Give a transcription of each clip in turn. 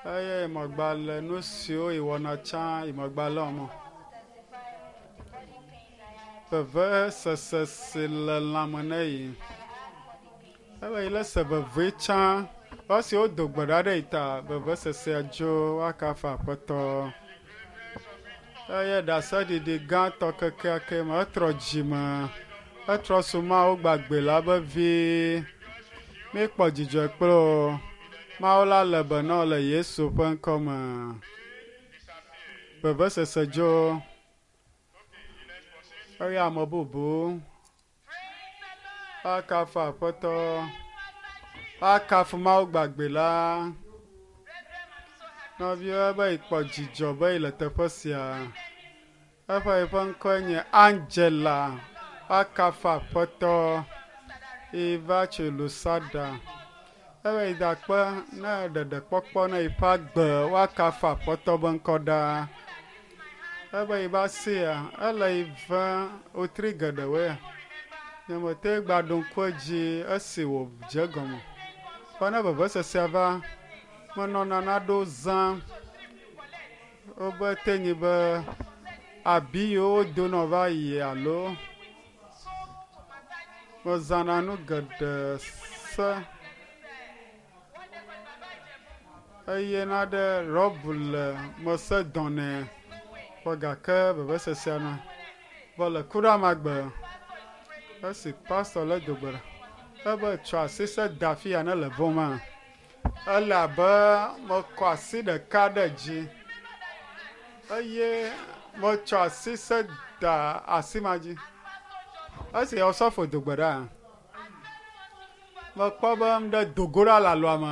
Eye megba le nu siwo yi wɔna tsã yi megba le wɔm. Vevesese si le lãme ne yi. Ebe yi le se veve tsã. Esi wodo gbe ɖa ɖe yi ta vevesesea dzo woakafu Aƒetɔ. Eye ɖaseɖiɖi gãtɔ kekeake me etrɔ dzime. Etrɔ su Mawu gbagbe la be vi. Míekpɔ dzidzɔ kple wo. Mawu la le be na wo le Yesu ƒe ŋkɔ me. Vevesese dzo. Eye ame bubu akafu Aƒetɔ, akafu Mawu gbagbe la. Nɔviwo be yikpɔ dzidzɔ be yele teƒe sia. Eƒe yiƒe ŋkɔe nye Angela. Akafu Aƒetɔ. Yi va tso Lusada. Ebe yi da akpe ne ɖeɖekpɔkpɔ ne yiƒe agbe woakafu Aƒetɔ be ŋkɔ ɖaa. Ebe yi va sia ele yi ve wotri geɖewoe. Nyemete gba ɖo ŋku edzi esi wòdze egɔme. Vɔ ne vevesesea va, menɔna naɖewo zãm. Wobe te nyi be abi yiwo wodonɔ va yi alo mezãna nu geɖe se eye naɖe rɔbu le mese dɔnɛ vɔ gake vevesesea na. Vɔ le kuɖamagbe esi pastɔ le do gbe ɖa ebe tsɔ asi se da afi ya ne le vɔ̃ma ele abe mekɔ asi ɖeka ɖe dzi eye metsɔ asi se da asi ma dzi. Esi osɔfo do gbe ɖa mekpɔ be ŋɖe do go ɖa le alɔa me.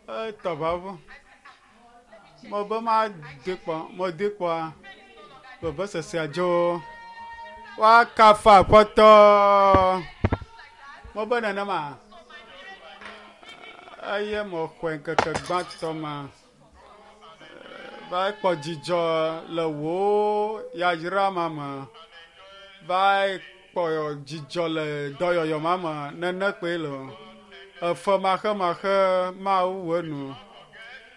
Etɔ ʋaʋu. Mebe madi kpɔ, medi kpɔa vevesesea dzo. Woakafu Aƒetɔ. Mebe nenema eye mexɔe ŋkeke gbãtɔ ma va kpɔ dzidzɔ le wò yayra ma me. Va kpɔ dzidzɔ le dɔyɔyɔ ma me nene kpoe le o. Efe maxemaxe Mawu wɔ enu.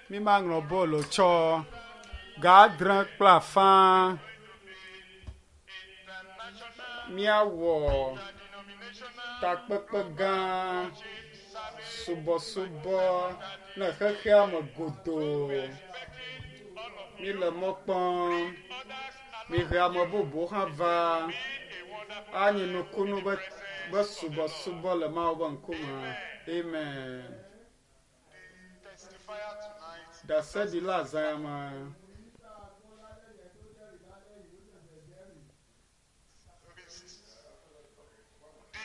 Mi maŋlɔ bolo tsɔ ga adre kple afã míawɔ takpekpe gã subɔsubɔ ne xexea me godoo. Míle mɔ kpɔm. Mihe ame bubuwo hã va anyi nukunu be be subɔsubɔ le Mawu ƒe ŋkume. Amen. Ɖaseɖila azã ya me. The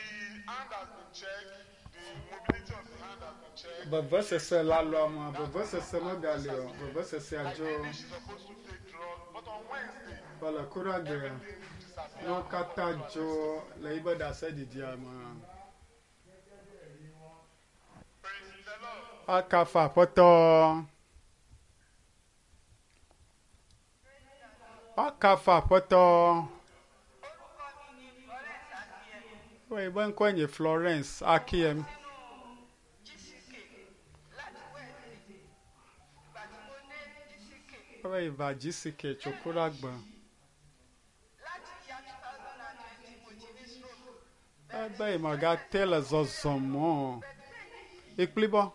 hand has been checked, the mobility of the hand has been checked. Vevesese le alɔa me, vevesese megali o, vevesesea dzo. She's supposed to take drug, but on Wednesday, Vɔ le kuɖagbe, nuwo katã dzo le yibe ɖaseɖiɖia me. praise the Lord. Akafu Aƒetɔ. Akafu Aƒetɔ. Wo yibe ŋkɔe nye Florence Akiem. Ebe yi va GCK tso kuɖagbe. Ebe yi megate le zɔzɔm o. Ikplibɔ.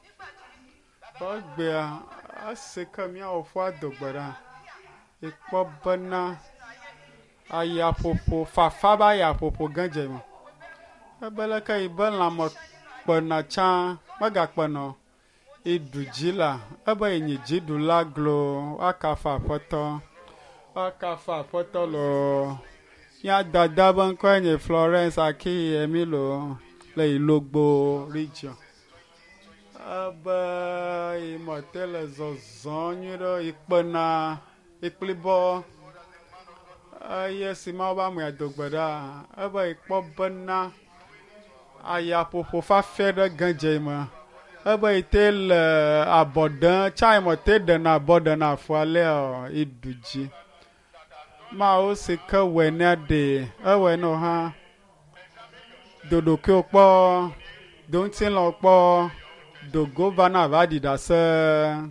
Egbea esi ke míawo ƒua do gbe ɖa. Ikpɔ bena ayaƒoƒo fafa be ayaƒoƒo ge dze me. Ebe leke yi be lãme kpena tsã megakpena o. Iɖu dzi la ebe yi nyi dziɖula glo woakafu Aƒetɔ. Woakafu Aƒetɔ loo. Mía dada be ŋkɔe nye Florence Akiyemi loo le Ilogbo region. Ebe yi mete le zɔzɔm nyuie ɖe yi kpena ikplibɔ eye si Mawu be amea do gbe ɖa ebe yi kpɔ bena ayaƒoƒo fafɛ ɖe ge dze yi me. Ebe yi te le abɔ ɖem tsã yi mete ɖena abɔ ɖena afɔ alea o yi ɖu dzi. Mawu si ke wɔe nea ɖe ewɔe na wò hã. Do ɖokuiwò kpɔ, do ŋutilã kpɔ, do go va na va ɖi ɖase.